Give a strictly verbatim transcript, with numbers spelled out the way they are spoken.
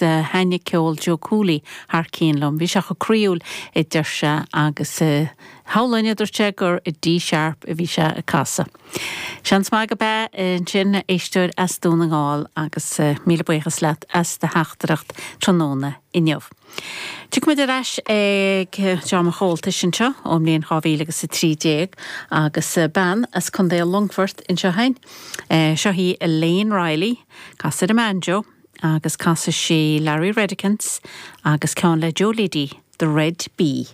Thaitnigh ceol Joe Cooley thar cionn liom. Bhí sé chomh croíúil a deir sé agus shamhlóinn a dúirt sé gur i D sharp a bhí sé ag casadh. Seans maith gurb ea ansin éisteoir as Dún na nGall agus míle buíochas leat as do theachtaireacht tráthnóna inniu. Tiocfaimid ar ais ag dream an Chomhaltais anseo ón mbliain dhá mhíle agus a trí déag agus bean as Contae Longfort anseo féin. Seo í Elaine Riley, casfaidh ar an mbanjo agus casfaidh sí Larry Redekins agus ceann le Joe Liddy, The Red Bee.